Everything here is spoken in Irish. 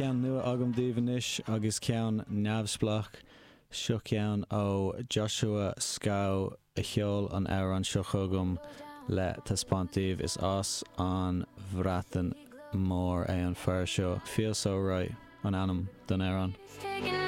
Ceann nua agam daoibh anois agus ceann neamhspleách. Seo ceann ó Joshua Scow a sheol an amhrán seo chugam le taispeáint daoibh. Is as an Bhreatain Mhór é an fear seo. Feel So Right an ainm don amhrán.